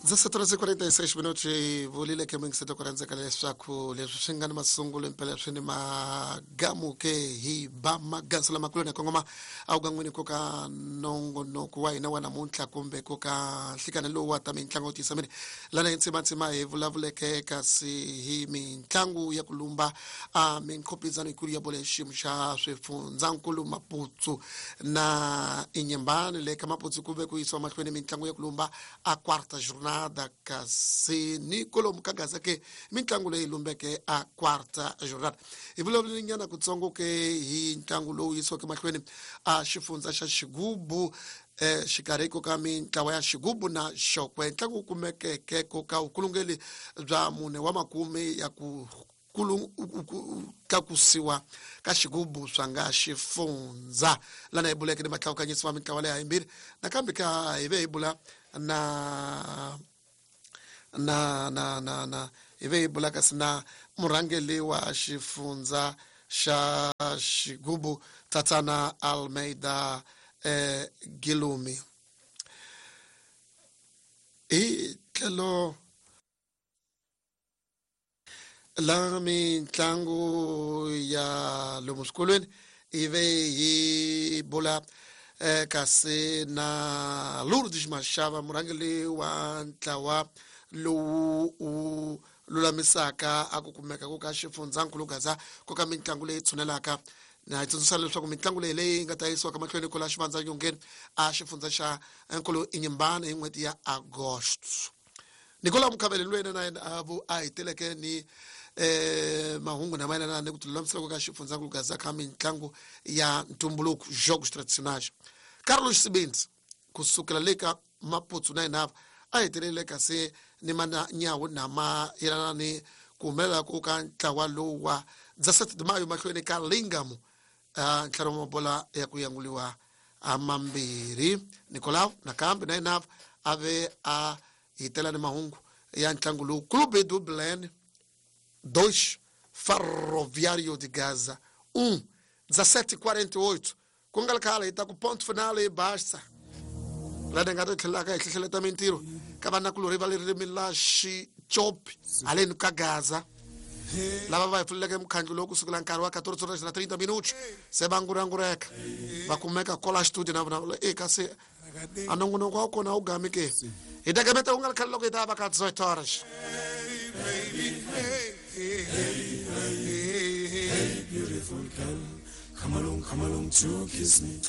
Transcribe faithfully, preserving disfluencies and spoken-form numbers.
dezessete horas e quarenta e seis minutos hi vulile ke mingiseto ku rhandzeka leswaku leswi swi nga ni masungulo impela swi ni magamu ke hi ba maganso lamakulu na kongoma a wu gan'wini ku ka nongonoko wa hina wa namuntlha kumbe ku ka nhlikani lowu wa ta mitlangu tiyisa miri lana hi ntsimatsima hi vulavuleke kasi hi mitlangu ya ku lumba a minkhopizano yikulu ya bolo ya xiyimo xa swifundzankulu Maputsu na Inhambane le ka Maputsu ku ve ku yisiwa mahlweni mitlangu ya ku lumba a quarta jornada kasi ni kolomu ka Gaza ke mitlangu leyi lumbeke a quarta jornada hi vulavulelinyana kutsongo ke hi ntlangu lowu yisiweke mahlweni a xifundza xa Xigubu eh xikarhi ko ka mintlawa ya Xigubu na Xokwe ntlangu wu kumekeke ko ka vukulungeli bya mune wa makume ya ku tlakusiwa ka Xigubu swa nga xifundza lana hi buleke ni matlawukanyisi wa mintlawa leyi hayimbirhi nakambe ka hi ve hi bula na na na na na hi ve hi bula kasi na murhangeli wa xifundza xa Xigubu Tatana Almeida eh Gilumi hi tlhelo la mitlangu ya lomu swikolweni ive hi bula eh, kasi na Lourdes Mashava murhangeli wa ntlawa lowu wu lulamisaka a ku kumeka ku ka xifundzankulu Gaza ku ka mitlangu leyi tshunelaka na hi tsundzuxa leswaku mitlangu leyi leyi nga ta yisiwaka mahlweni ko la xivandza nyongeni a xifundza xa nkulu Inhambane hi n'hweti ya Agosto Nicolas Mukhabele lwena na yena a vu a heteleke ni eh mahungu na mayelana ni ku tilulamisela ka xifundzankulu Gaza ka mitlangu ya ntumbuluko jogos tradicionais Carlos Sibindi kusukela le ka Maputsu na yena a hetelele kasi ni manyawu na mayelana ni ku humelela ku ka ntlawa lowu wa dezessete de maio mahlweni ka Lingamo ntlhanu wa mabola ya ku yanguliwa a mambirhi Nicolau nakambe na yena a ve a hitela ni mahungu ya ntlangu lowu Clube do Belém dois Ferroviário de Gaza um dezessete e quarenta e oito ku nga ri khale hi ta ku ponto final e basta lana nga ta tlhelaka hi hlehleleta mintirho ka vanakulorhi va le ririmi la Xicopi haleni ka Gaza lava va hi pfuleleke mukhandlu lowu kusukela nkarhi wa quatorze horas na trinta minutos se va ngurangureka va kumeka kola studio na vona e kasi a nongonoko wa kona wu gami ke hi ta gameta ku nga ri khale loko hi ta va ka dezoito horas. Hey, beautiful girl, come along, come along to kiss me.